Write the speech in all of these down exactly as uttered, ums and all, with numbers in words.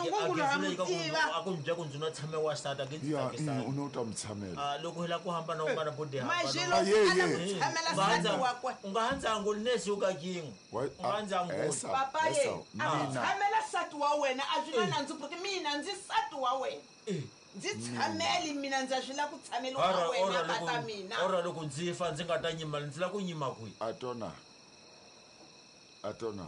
ngungulo ha mu tiva a ku ndzi ku ndzi no tshame wa sati a ke ndzi Ya, tsakisana. mm, u no ta mu tshamela. Ah, loko hi lava ku hambana un'wana bodi Majelo Ah, ye, a la ye. ku tshamela sati wakwe u nga ha ndzi anguli nesi u ka kin'we Wa- u nga ndzi ah, anguli esa, papa ye esa, a ku mina tshamela sati wa wena a swi na nandzu porque mina ndzi sati wa wena Eh. ndzi tshameli mina ndza swi lava ku tshameliwa Ora- ka wena ora tata loko- mina ora loko ndzi fa ndzi nga ta nyima ndzi lava ku nyima kwihi a tona a tona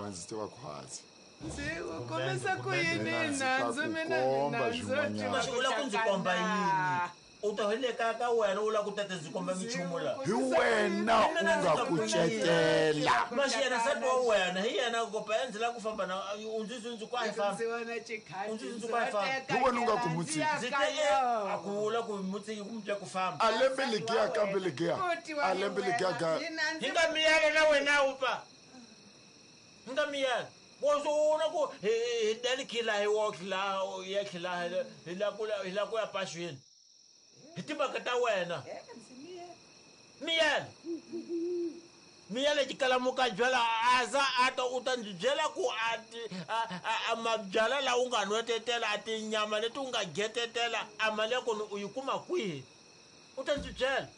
wa ndzi tiva khwatsi Ndzi ku kombisa ku yini Mina ndzi ta nandzu ku mina komba ni nandzu swin'wanyana. Maxi u lava ku ndzi komba yini u ta hi le kaya ka wena u lava ku tata ndzi komba minchumu laha hi wena u nga kucetela maxi yena sati wa wena hi yena kopa ya ndzi lava ku famba na u ndzi ndzi ku a hi famba Ndzi vona xikhati U ndzi ndzi ku a hi famba. teka Hi wena u nga ku ndzi mutshiki. ya ndzi ka te yona. a ku vula ku mutsiki ku mutya ku famba a lembe legiya kambe legiya Futhi wa a lembe legiya ga Mina ndzi hi nga miyela na wena wu pa hi nga miyela wo na ku hi hi dali khila hi wo khila ya khila hi la ku hi la ku ya paxwini hi timhaka ta wena miyela miyela xikalamuka byala a za a ta u ta ndzi byela ku a ti- a- a- a mabyala lawa u nga nwetetela a tinyama leti u nga getetela a mali ya kona u yi kuma kwihi u ta ndzi byela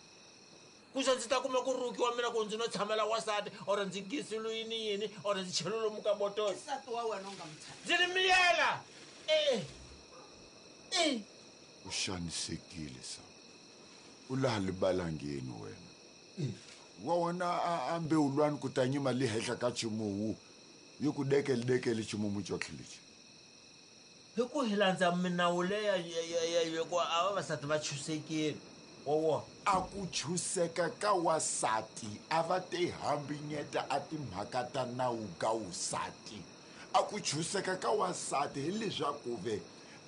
kuze ndzi ta kuma ku rukiwa mina ku ndzi no tshamela wasati or ndzi gisilo yini yini or ndzi chelo lomu ka botolo i sati wa wena u nga mu tshameli ndzi ri miyela e e u xanisekile sa u laha libalangeni wena wa wona a- a mbewulwani ku ta nyima li henhla ka ximuwu yi ku dekele dekele ximumu cotlhe lexi hi ku hi landza minawu leya ya- ya- ya- ya ku a vavasati va chusekile wa wona a ku chuseka ka wasati a va te hambinyeta a timhaka ta nawu ka wusati a ku chuseka ka wasati hileswaku ve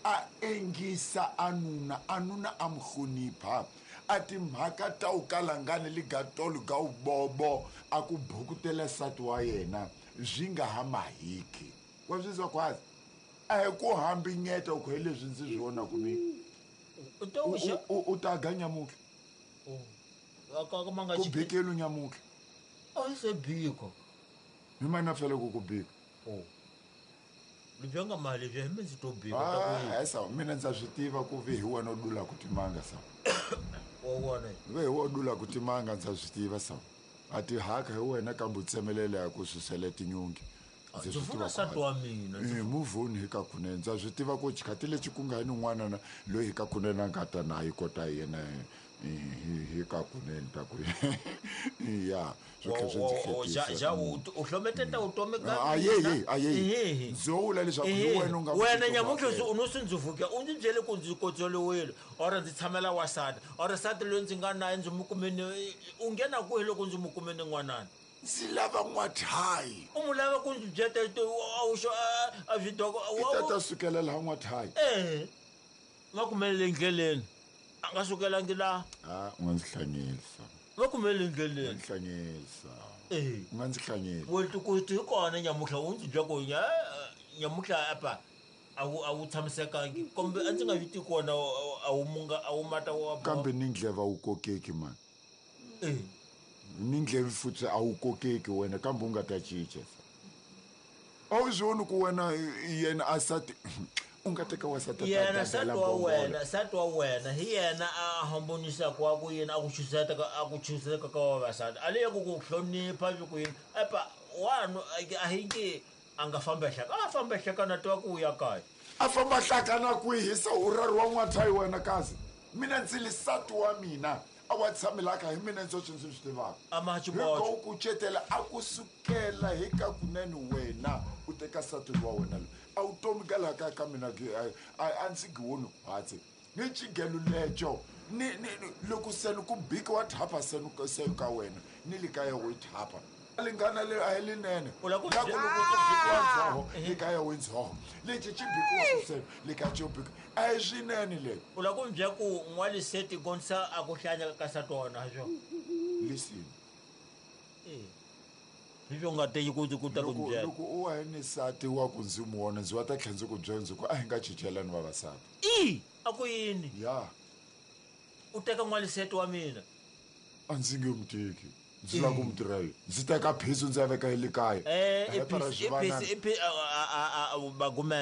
a engisa a nuna a nuna a mu hlonipha a timhaka ta wu kalangani ligatolo ga wubobo a ku bukutela nsati wa yena swi nga ha mahiki wa swi zwa khwazi a hi ku hambinyeta ku hi leswi ndzi swi vonaku mina u to U- xa u- u ta ga nyamutlha ka ma nga ku bikelu nyamutlha a se biko hi mana fele ku ku bika lebyi nga mali lebyi hi mi ndzi to bika ta ku yini Ah, esa mina ndza swi tiva ku ve hi wena u dulaku timanga sa wa wona ve hi wena u dulaku timanga ndza swi tiva sa a ti haka hi wena kambe u tsemelela ya ku susela tinyungi Ndzi ndzi swi funa tiva nsati ku wa mina Eh, muvhoni hi ka kunene ndza swi tiva ku xikhati lexi ku nga ni n'wana na loyi hi ka kunene a nga ta na yi kota yena eh, hi hi ka kunene ta ku ya swi tlhe swi ndzi hlekisa. ja u u hlometeta vutomi ka Ah, ye, ye, a ye. Ehe. Ndzo vula leswaku hi Ehe. wena u nga wena ku nyamuntlha titwa u no swi ndzi vuka u ndzi byele ku ndzi kotsoliwile or ndzi tshamela wasati or sati loyi ndzi nga naye ndzi mu kumeni u nghena kwihi loko ndzi mu kumeni n'wanani ndzi lava n'wathayi u mu lava ku ndzi byeta a wu xo a swidoko i ta ta sukela laha n'wathayi ehe va kumelele endleleni a nga sukelangi laha a u nga ndzi hlanyelisa va kumelele u nga endleleni ndzi hlanyelisa ehe u nga ndzi hlanyeli wetikuti hi kona nyamutlha u ndzi bya ku nya- nyamutlha apa a wu a wu tshamisekangi kumbe a ndzi nga swi tivi kona a wu munga a wu mata wa kambe ni ndleva wu kokeki mani Eh, ni ndleve futhi a wu kokeki wena kambe u nga ta cinca a wu swi voni ku wena yena a sati u nga teka wasati a ta yena dadela sati wa mbhongolo. wena sati wa wena hi yena a hambonisaka wa ku yini a ku chuseta ka a ku chuseka ka vavasati a leya ku ku hlonipha swi ku yini epa wanu a hi nge a nga famba hlaka a famba hlaka na tiva ku u ya kaya a famba hlakana kwihi se u rari wa n'wathayi wena kasi mina ndzi li sati wa mina a wa tshamelaka hi mina ndzoxe ndzi swi tivaka a ma hi xiboxo ku kucetela a ku sukela hi ka kunene wena u teka nsati wa wena loyi a wu tomi ka laha kaya ka mina ke- a- a a ndzi giwoni hatsi ni xigelo leco ni ni ni- loko seni ku bikiwa thapa seni se ka wena ni le kaya wo yi thapa lingana le a hi linene U la ku La ku bye- loko ku bikiwa ndzhoho le kaya wo ndzhoho lexi xi bikiwa seni le kaya xo bikiwa a hi swinene leyi u lava ku mi byela ku n'waliseti gonisa a ku hlanya ka nsati wa wena ha swona listen hi swo nga teki ku ku ta ku loko mi byela loko u wa hi ni nsati wa ku ndzi mu vona ndzi wa ta tlhela ndzi ku byela ndzi ku a hi nga cicelani vavasati i a ku yini ya u teka n'waliseti wa mina a ndzi nge mu teki ndzi lava ku mu tirha yini ndzi teka phiso ndzi ya veka hi le kaya Eh, Hepa ra i swivanana. bagumene.